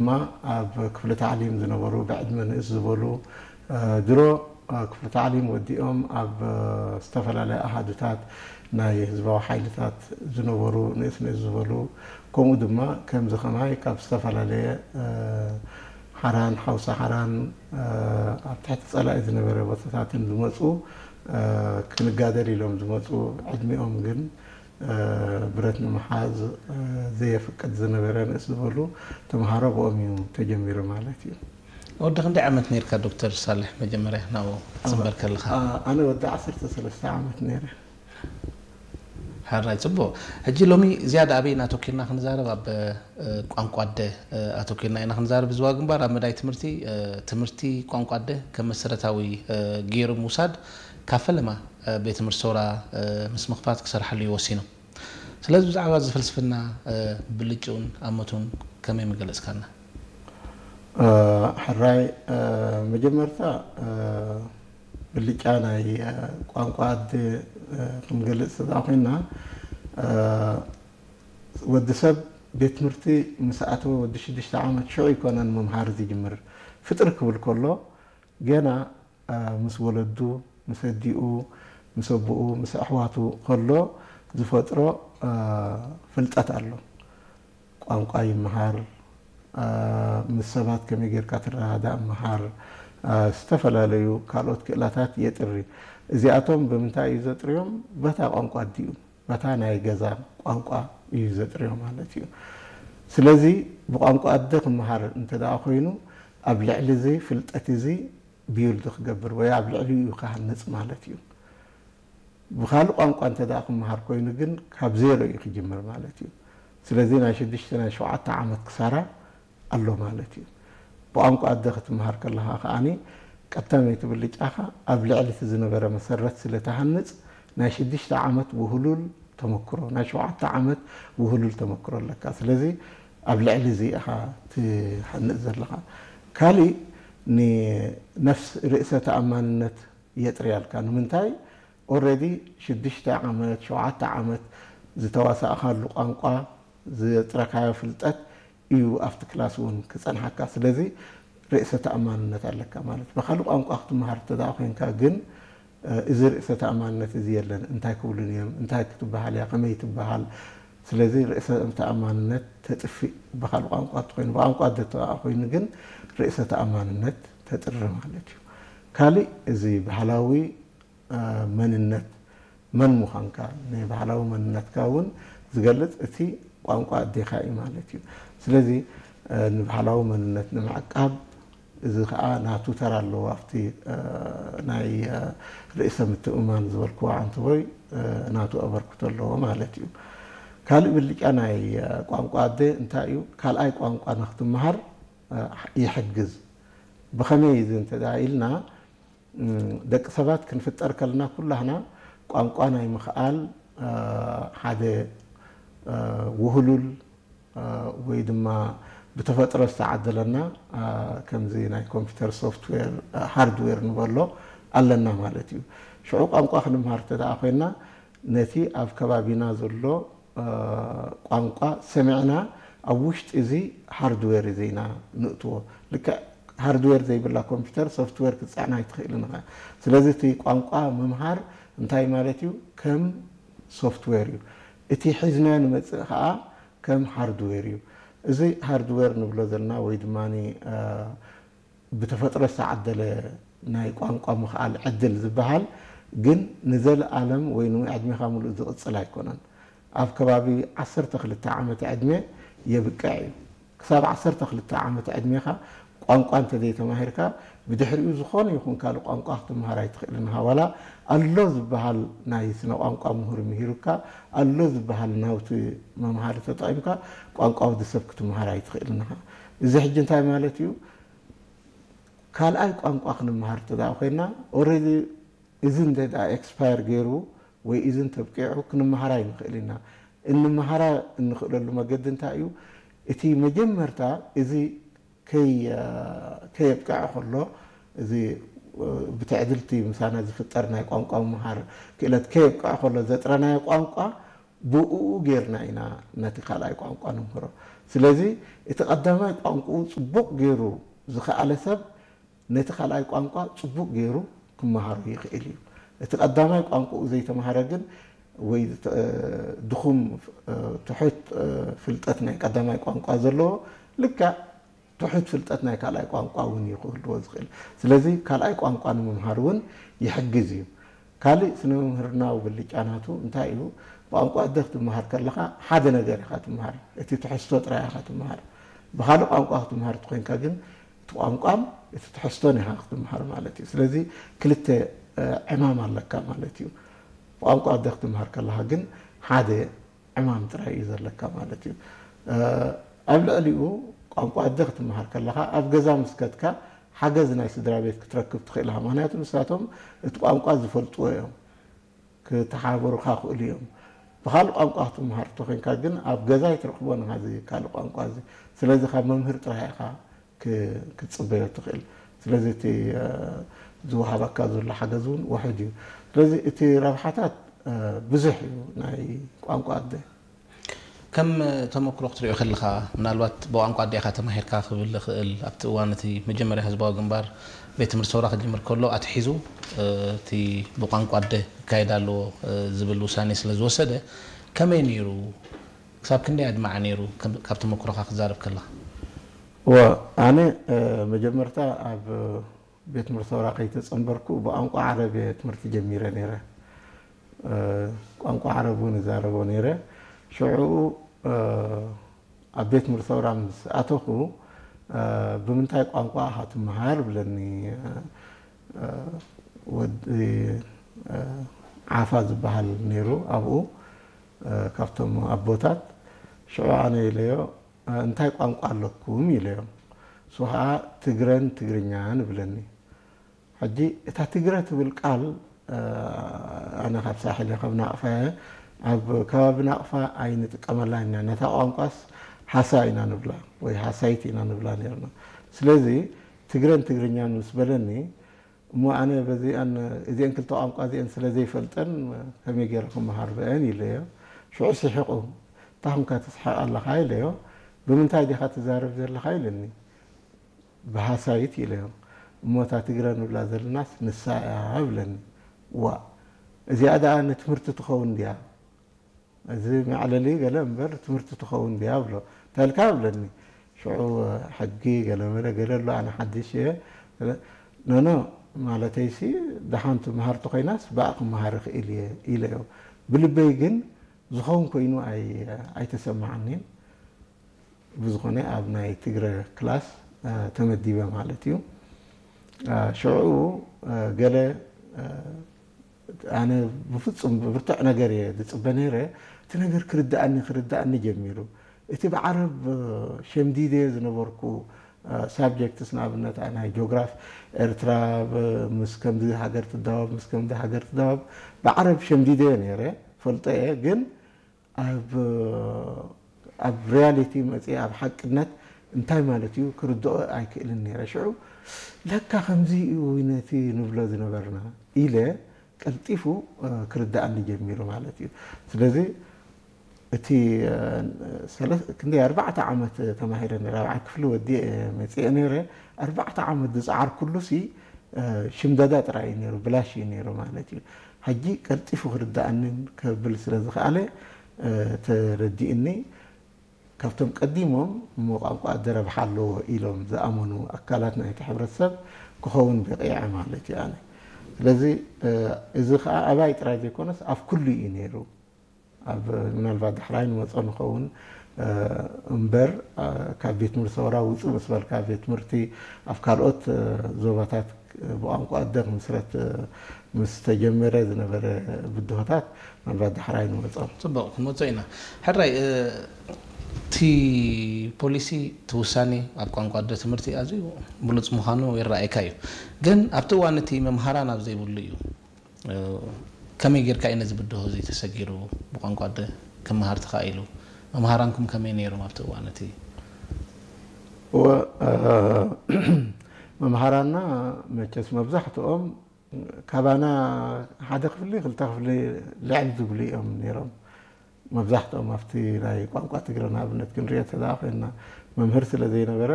ድማ ኣብ ክፍሊ ታዕሊም ዝነበሩ ብዕድመ ንእስ ዝበሉ ድሮ ክፍሊ ታዕሊም ወዲኦም ኣብ ዝተፈላለያ ኣሃዱታት ናይ ህዝባዊ ሓይልታት ዝነበሩ ንእስ ንእስ ዝበሉ፣ ከምኡ ድማ ከምዚ ከማይ ካብ ዝተፈላለየ ሓራን ሓውሳ ሓራን ኣብ ትሕቲ ጸላኢ ዝነበረ ቦታታትን ዝመፁ ክንጋደል ኢሎም ዝመፁ ዕድሚኦም ግን ብረት ንምሓዝ ዘየፍቅድ ዝነበረ ንእስ ዝበሉ ተምሃሮ ብኦም እዩ ተጀሚሩ ማለት እዩ። ወዲ ክንደይ ዓመት ነርካ ዶክተር ሳልሕ መጀመርያ ናብኡ ክትፅንበር ከለኻ? ኣነ ወዲ ዓሰርተ ሰለስተ ዓመት ነይረ። ሕራይ ፅቡቅ። ሕጂ ሎሚ ዝያዳ ኣበይ ኣተኪርና ክንዛረብ ኣብ ቋንቋ ኣደ ኣተኪርና ኢና ክንዛረብ። ዝዋ ግንባር ኣብ መዳይ ትምህርቲ ትምህርቲ ቋንቋ ኣደ ከም መሰረታዊ ገይሩ ምውሳድ ካብ ፈለማ ቤት ትምህርቲ ሰውራ ምስ ምኽፋት ክሰርሓሉ እዩ ወሲኑ። ስለዚ ብዛዕባ እዚ ፍልስፍና ብልጭኡን ኣመቱን ከመይ ምገለጽካና? ሕራይ መጀመርታ ብልጫ ናይ ቋንቋ ኣደ ክንገልጽ ተዳ ኮይና ወዲ ሰብ ቤት ትምህርቲ ምስ ኣተወ ወዲ ሽዱሽተ ዓመት ሽዑ ይኮነን ምምሃር ዝጅምር። ፍጥር ክብል ከሎ ገና ምስ ወለዱ፣ ምስ ኣዲኡ፣ ምስ ኣቦኡ፣ ምስ ኣሕዋቱ ከሎ ዝፈጥሮ ፍልጠት ኣሎ። ቋንቋ ይምሃር፣ ምስ ሰባት ከመይ ጌርካ ትረዳዳእ ምሃር፣ ዝተፈላለዩ ካልኦት ክእላታት የጥሪ። እዚኣቶም ብምንታይ እዩ ዘጥርዮም? በታ ቋንቋ ኣዲኡ፣ በታ ናይ ገዛ ቋንቋ እዩ ዘጥርዮ ማለት እዩ። ስለዚ ብቋንቋ ኣደ ክምሃር እንተ ደኣ ኮይኑ ኣብ ልዕሊ እዚ ፍልጠት እዚ ቢውልድ ክገብር ወይ ኣብ ልዕሊኡ እዩ ክሃንጽ ማለት እዩ። ብኻልእ ቋንቋ እንተ ደኣ ክምሃር ኮይኑ ግን ካብ ዜሮ እዩ ክጅምር ማለት እዩ። ስለዚ ናይ ሽዱሽተ ናይ ሸውዓተ ዓመት ክሳራ ኣሎ ማለት እዩ። ብቋንቋ ኣደ ክትምሃር ከለኻ ከኣኒ ቀዳመይቲ ብልጫኻ ኣብ ልዕሊ እቲ ዝነበረ መሰረት ስለ ትሃንጽ ናይ ሽዱሽተ ዓመት ውህሉል ተመክሮ ናይ ሸውዓተ ዓመት ውህሉል ተመክሮ ኣለካ። ስለዚ ኣብ ልዕሊ እዚ ኢኻ ትሃንጽ ዘለኻ። ካሊእ ንነፍስ ርእሰ ተኣማንነት የጥርያልካ። ንምንታይ? ኦረዲ ሽዱሽተ ዓመት ሸውዓተ ዓመት ዝተዋሳእካሉ ቋንቋ ዘጥረካዮ ፍልጠት እዩ ኣብቲ ክላስ እውን ክፀንሓካ። ስለዚ ርእሰ ተኣማንነት ኣለካ ማለት። ብካልእ ቋንቋ ክትምሃር እንተ ደኣ ኮይንካ ግን እዚ ርእሰ ተኣማንነት እዚ የለን። እንታይ ክብሉን እዮም? እንታይ ክትበሃል እያ? ከመይ ትበሃል? ስለዚ ርእሰ ተኣማንነት ተጥፍእ ብካልእ ቋንቋ እንተኮይኑ። ብቋንቋ ኣደ እንተ ደኣ ኮይኑ ግን ርእሰ ተኣማንነት ተጥሪ ማለት እዩ። ካሊእ እዚ ባህላዊ መንነት መን ምዃንካ ናይ ባህላዊ መንነትካ እውን ዝገልፅ እቲ ቋንቋ ኣዴኻ እዩ ማለት እዩ። ስለዚ ንባህላዊ መንነት ንምዕቃብ እዚ ከዓ ናቱ ተራ ኣለዎ ኣብቲ ናይ ርእሰ ምትእምማን ዝበልክዎ ዓንተቦይ ናቱ ኣበርክቶ ኣለዎ ማለት እዩ። ካልእ ብልጫ ናይ ቋንቋ ኣደ እንታይ እዩ? ካልኣይ ቋንቋ ንክትምሃር ይሕግዝ። ብኸመይ እዚ እንተ ኢልና ደቂ ሰባት ክንፍጠር ከለና ኩላህና ቋንቋ ናይ ምኽኣል ሓደ ውህሉል ወይ ድማ ብተፈጥሮ ዝተዓደለና ከምዚ ናይ ኮምፒውተር ሶፍትዌር ሃርድዌር ንበሎ ኣለና ማለት እዩ። ሽዑ ቋንቋ ክንምሃር እንተ ደኣ ኮይና ነቲ ኣብ ከባቢና ዘሎ ቋንቋ ሰሚዕና ኣብ ውሽጢ እዚ ሃርድዌር እዚ ኢና ንእትዎ። ልክዕ ሃርድዌር ዘይብላ ኮምፒውተር ሶፍትዌር ክትፅዕና ኣይትኽእልን ኢኻ። ስለዚ እቲ ቋንቋ ምምሃር እንታይ ማለት እዩ? ከም ሶፍትዌር እዩ። እቲ ሒዝናዮ ንመፅእ ከዓ ከም ሃርድዌር እዩ። እዚ ሃርድዌር ንብሎ ዘለና ወይ ድማ ብተፈጥሮ ዝተዓደለ ናይ ቋንቋ ምኽኣል ዕድል ዝበሃል ግን ንዘለኣለም ወይ ንዕድሜኻ ሙሉእ ዝቕፅል ኣይኮነን። ኣብ ከባቢ ዓሰርተ ክልተ ዓመት ዕድመ የብቅዕ እዩ። ክሳብ ዓሰርተ ክልተ ዓመት ዕድሜኻ ቋንቋ እንተዘይተማሂርካ ብድሕሪኡ ዝኾነ ይኹን ካልእ ቋንቋ ክትምሃር ኣይትኽእልን ኢኻ። ዋላ ኣሎ ዝበሃል ናይ ስነ ቋንቋ ምሁር ምሂሩካ ኣሎ ዝበሃል ናውቲ መምሃሪ ተጠቒምካ ቋንቋ ወዲ ሰብ ክትምሃር ኣይትኽእልን ኢኻ። እዚ ሕጂ እንታይ ማለት እዩ? ካልኣይ ቋንቋ ክንምሃር እንተ ኮይና ኦረዲ እዚ እንተ ኤክስፓየር ገይሩ ወይ እዚ እንተብቂዑ ክንምሃር ኣይንኽእል ኢና። እንምሃራ እንኽእለሉ መገዲ እንታይ እዩ? እቲ መጀመርታ እዚ ከየብቅዐ ከሎ እዚ ብትዕድልቲ ምሳና ዝፍጠር ናይ ቋንቋ ምምሃር ክእለት ከየብቅዐ ከሎ ዘጥረናዮ ቋንቋ ብኡ ጌርና ኢና ነቲ ካልኣይ ቋንቋ ንምህሮ። ስለዚ እቲ ቀዳማይ ቋንቋኡ ጽቡቕ ገይሩ ዝኸኣለ ሰብ ነቲ ካልኣይ ቋንቋ ጽቡቕ ገይሩ ክመሃሮ ይኽእል እዩ። እቲ ቀዳማይ ቋንቋኡ ዘይተምሃረ ግን ወይ ድኹም ትሑት ፍልጠት ናይ ቀዳማይ ቋንቋ ዘለዎ ልክዕ ትሑት ፍልጠት ናይ ካልኣይ ቋንቋ እውን እዩ ክህልዎ ዝኽእል። ስለዚ ካልኣይ ቋንቋ ንምምሃር እውን ይሕግዝ እዩ። ካልእ ስነ መምህርናዊ ብልጫ ናቱ እንታይ እዩ? ብቋንቋ ኣደ ክትምሃር ከለኻ ሓደ ነገር ኢኻ ትምሃር፣ እቲ ትሕዝቶ ጥራይ ኢኻ ትምሃር። ብኻልእ ቋንቋ ክትምሃር እንተኾይንካ ግን እቲ ቋንቋን እቲ ትሕዝቶን ኢኻ ክትምሃር ማለት እዩ። ስለዚ ክልተ ዕማም ኣለካ ማለት እዩ። ብቋንቋ ኣደ ክትምሃር ከለኻ ግን ሓደ ዕማም ጥራይ እዩ ዘለካ ማለት እዩ። ኣብ ልዕሊኡ ቋንቋ ኣደ ክትምሃር ከለኻ ኣብ ገዛ ምስ ከድካ ሓገዝ ናይ ስድራ ቤት ክትረክብ ትኽእል ኢኻ። ምኽንያቱ ንሳቶም እቲ ቋንቋ ዝፈልጥዎ እዮም፣ ክተሓባበሩኻ ይኽእሉ እዮም። ብኻልእ ቋንቋ ክትምሃር እንተኾይንካ ግን ኣብ ገዛ ኣይትረኽቦን ኢኻ እዚ ካልእ ቋንቋ እዚ። ስለዚ ካብ መምህር ጥራይ ኢኻ ክትጽበዮ ትኽእል። ስለዚ እቲ ዝወሃበካ ዘሎ ሓገዝ እውን ውሑድ እዩ። ስለዚ እቲ ረብሓታት ብዙሕ እዩ ናይ ቋንቋ ኣደ። ከም ተመክሮ ክትሪኦ ከለኻ፣ ምናልባት ብቋንቋ ኣዴኻ ተማሂርካ ክብል እኽእል፣ ኣብቲ እዋን እቲ መጀመርያ ህዝባዊ ግንባር ቤት ትምህርቲ ሰውራ ክጅምር ከሎ ኣትሒዙ እቲ ብቋንቋ ኣደ ክካየድ ኣለዎ ዝብል ውሳኔ ስለ ዝወሰደ፣ ከመይ ነይሩ? ክሳብ ክንደይ ኣድማዒ ነይሩ? ካብ ተመክሮኻ ክትዛረብ ከለኻ። ወ ኣነ መጀመርታ ኣብ ቤት ትምህርቲ ሰውራ ከይተጸንበርኩ ብቋንቋ ዓረብ እየ ትምህርቲ ጀሚረ ነይረ። ቋንቋ ዓረብ እውን እዛረቦ ነይረ። ሽዑ ኣብ ቤት ትምህርቲ ሰውራ ምስ ኣተኹ፣ ብምንታይ ቋንቋ ኢኻ ትመሃር ብለኒ ወዲ ዓፋ ዝበሃል ነይሩ ኣብኡ፣ ካብቶም ኣቦታት። ሽዑ ኣነ ኢለዮ፣ እንታይ ቋንቋ ኣለኩም ኢለዮ። እሱ ከዓ ትግረን ትግርኛን ይብለኒ። ሕጂ እታ ትግረ ትብል ቃል ኣነ ካብ ሳሕል እየ፣ ካብ ናቕፋ እየ። ኣብ ከባቢ ናቕፋ ኣይንጥቀመላን ኢና። ነታ ቋንቋስ ሃሳ ኢና ንብላ ወይ ሃሳይት ኢና ንብላ ነርና። ስለዚ ትግረን ትግርኛን ምስ በለኒ እሞ ኣነ በዚኣን እዚአን ክልተ ቋንቋ እዚአን ስለ ዘይፈልጠን ከመይ ገይረ ክመሃር ብአን ኢለዮ። ሽዑ ስሒቑ። እንታይ ኹንካ ትስሕቕ ኣለኻ ኢለዮ። ብምንታይ ዲኻ ትዛረብ ዘለኻ ኢለኒ። ብሃሳይት ኢለዮ። እሞ እታ ትግረ ንብላ ዘለናስ ንሳ እያ ብለኒ። ዋእ እዚኣ ደኣ ንትምህርቲ ትኸውን ድያ? እዚ መዕለሊ ገለ እምበር ትምህርቲ ትኸውን ድያ ብሎ። እንታይ ኢልካ ብለኒ። ሽዑ ሕጊ ገለ መለ ገለ ኣሎ ኣነ ሓድሽ እየ። ኖኖ ማለተይሲ ደሓን ትምሃር ተኾይናስ ብኣ ክምሃር እኽእል እየ ኢለዮ። ብልበይ ግን ዝኸውን ኮይኑ ኣይተሰማዓኒን። ብዝኾነ ኣብ ናይ ትግረ ክላስ ተመዲበ ማለት እዩ። ሽዑ ገለ ኣነ ብፍጹም ብብርቱዕ ነገር እየ ዝጽበ ነይረ። እቲ ነገር ክርድኣኒ ክርድኣኒ ጀሚሩ። እቲ ብዓረብ ሸምዲደ ዝነበርኩ ሳብጀክትስ ንኣብነት ናይ ጆግራፍ ኤርትራ ምስ ከምዚ ሃገር ትዳወብ ምስ ከምዚ ሃገር ትዳወብ ብዓረብ ሸምዲደ ነይረ ፈልጦ እየ ግን ኣብ ኣብ ሪያሊቲ መፅእ ኣብ ሓቅነት እንታይ ማለት እዩ ክርድኦ ኣይክእልን ነይረ። ሽዑ ለካ ከምዚ እዩ ነቲ ንብሎ ዝነበርና ኢለ ቀልጢፉ ክርድኣኒ ጀሚሩ ማለት እዩ። ስለዚ እቲ ክንደይ ኣርባዕተ ዓመት ተማሂረ ራብዓይ ክፍሊ ወዲእ መፅአ ነይረ። ኣርባዕተ ዓመት ዝፀዓርኩሉ ሲ ሽምደዳ ጥራይ እዩ ነይሩ፣ ብላሽ እዩ ነይሩ ማለት እዩ። ሕጂ ቀልጢፉ ክርድኣንን ከብል ስለ ዝኸኣለ ተረዲእኒ። ካብቶም ቀዲሞም እሞ ቋንቋ ኣደ ረብሓ ኣለዎ ኢሎም ዝኣመኑ ኣካላት ናይቲ ሕብረተሰብ ክኸውን በቒዐ ማለት እዩ ኣነ። ስለዚ እዚ ከዓ ኣባይ ጥራይ ዘይኮነስ ኣብ ኩሉ እዩ ነይሩ። ኣብ ምናልባት ዳሕራይ ንመጾ ንኸውን እምበር ካብ ቤት ትምህርቲ ሰውራ ውፅእ ምስ በልካ ቤት ትምህርቲ ኣብ ካልኦት ዞባታት ብቋንቋ ኣደ ክምስረት ምስ ተጀመረ ዝነበረ ብድሆታት ምናልባት ዳሕራይ ንመጾ። ፅቡቕ ክንመጾ ኢና። ሕራይ እቲ ፖሊሲ እቲ ውሳኔ ኣብ ቋንቋ ኣደ ትምህርቲ ኣዝዩ ብሉፅ ምዃኑ ይረኣየካ እዩ። ግን ኣብቲ እዋን እቲ መምሃራን ኣብ ዘይብሉ እዩ። ከመይ ጌርካ እዩ ነዚ ብድሆ እዚ ተሰጊሩ ብቋንቋ ኣደ ክመሃር ተኻኢሉ? መምሃራንኩም ከመይ ነይሮም ኣብቲ እዋን እቲ? እወ፣ መምሃራና መቸስ መብዛሕትኦም ካባና ሓደ ክፍሊ ክልተ ክፍሊ ልዕል ዝብሉ እዮም ነይሮም። መብዛሕትኦም ኣብቲ ናይ ቋንቋ ትግረ ንኣብነት ክንሪኦ ተዳ ኮይና መምህር ስለ ዘይነበረ